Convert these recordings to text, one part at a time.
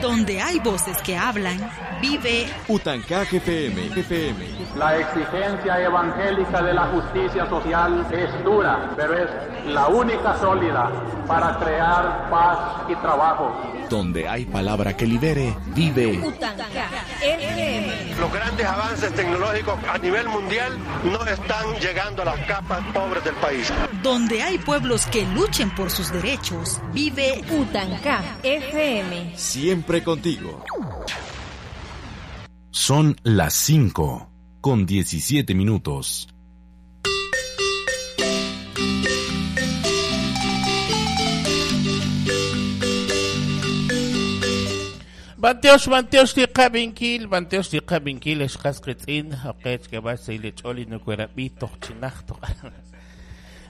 Donde hay voces que hablan, vive Utancaj FM, FM. La exigencia evangélica de la justicia social es dura, pero es la única sólida para crear paz y trabajo. Donde hay palabra que libere, vive Utancaj FM. Los grandes avances tecnológicos a nivel mundial no están llegando a las capas pobres del país. Donde hay pueblos que luchen por sus derechos, vive Utancaj FM. Siempre contigo. Son las 5:17. Bantiox, bantiox li qabinkil, bantiox li qabinkil, xqas qitz'in, oqech keb'ax sayli ch'ol inukuerab'i toj chinaj toj.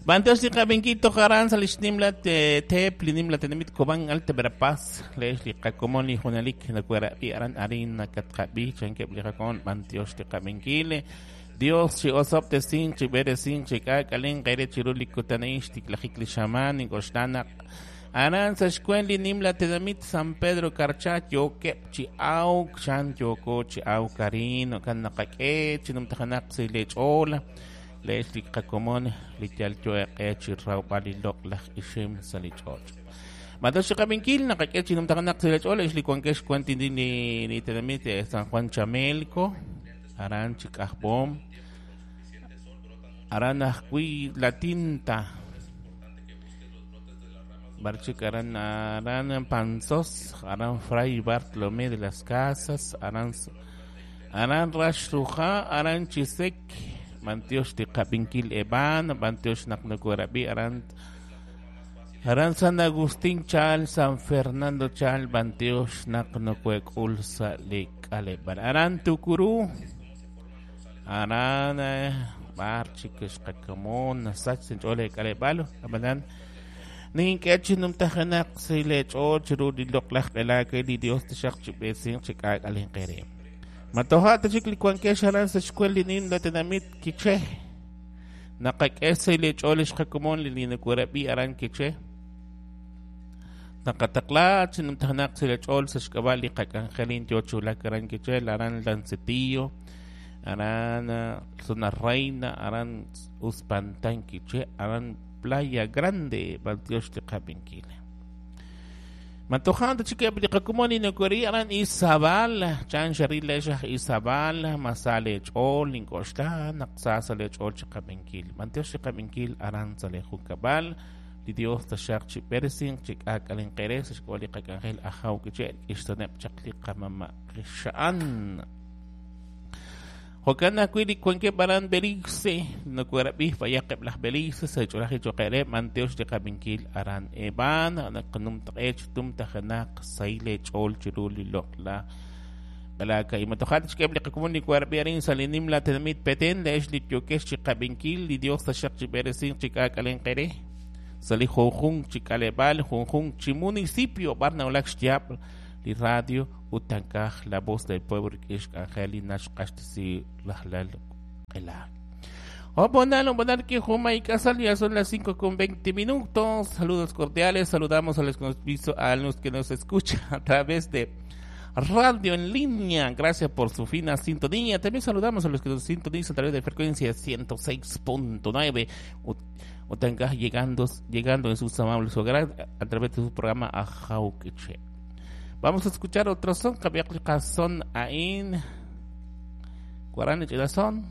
Bantiox li qabinkil toj aran sa lix nimla tep li nimla tenamit Cobán Alta Verapaz, leex li qakomon li junalik nukuerab'i aran arin nakatqab'i chankeb li qakomon bantiox li qabinkil. Dios chi osop tesin chi beresin chi k'ak'alin qere chiru li kutanain xtiklajik li xaman ink'oxlanak aran sa xkwen li nimla tenamit San Pedro Carchá yokeb chi awk chan yoko chi awk karin kan naqak'e chi numtajanaq si lech'ola leex li qakomon li yal yoeq'e chi rawb'al li loq'laj ixim sa li ch'och'. Matox chi qabinkil naqak'e chi numtajanaq si lech'ola ex li wankex kwan li li tenamit San Juan Chamelco aran chi k'ajb'om aran ajwi' La Tinta Barchik aran aran Panzos, aran Fray Bartolomé de las Casas, aran aran Raxruja, aran Chisek, Mantiox Tiqabinkil Eban, Mantiox Naqnukuerabi, aran aran San Agustín Chal, San Fernando Chal, Mantiox Naqnukuekul sa Likaleban, aran Tukuru, aran Barchik Xqakamon, Nasach Sinchole Kalebalo, Abanan Nink'e numtajanaq si lech'o chiru li loq'laj q'elak li Dios taxaq chi b'esin chi k'ak'alin qere. Matoja tachik li wankex aran sa xkwel li nin la tenamit Quiché. Naqak'e si lech'o li xqakomon li linukurab'i aran Quiché. Naqataqla chi numtajanaq si lech'ol sa xk'ab'a li qak'anjelin yo chulak aran Quiché, aran Lancetillo, aran Zona Reina, aran Uspantán Quiché, aran Playa Grande, Bantiox tiqabinkil. Matojan chique tiqakumoni nukuri aran Izabal, chan sharil leshaj Izabal, masale chol, inkoxta, naqsa sale chol chiqabinkil. Bantiox tiqabinkil aran sale junkabal, li Dios tashaq chi peresin, chik akalin qeres, xkoli qakangel ajaw kiche, ixtanep chaqli qamama qishaan. Jokan akwili cuenque baran Belice, no cuerabi fayaqeb las Belice, se cholaje choquere, manteos de cabinkil aran eban, anakanum tech tum tajanak, saile chol chiruli lokla. Balaka y matohat chkeb liqakumuni cuerabi arin salinim la tenamit peten, leesh li yokesh chikabinkil, li Dios tashaq chiberesin chikakalen qere, sali junjun chikalebal, junjun chimunicipio, barnaulak xtiap, li radio Utancaj, la voz del pueblo que es Angelina Xqaxtisi Lajlal Qela. Oh, bonal, bonal que Juma y Casal, ya son las 5:20. Saludos cordiales, saludamos a los que nos, a los que nos escuchan a través de radio en línea. Gracias por su fina sintonía. También saludamos a los que nos sintonizan a través de frecuencia 106.9. Utancaj llegando en sus amables hogares a través de su programa Ajauquiche. Vamos a escuchar otro son, son ain. Cuarán son.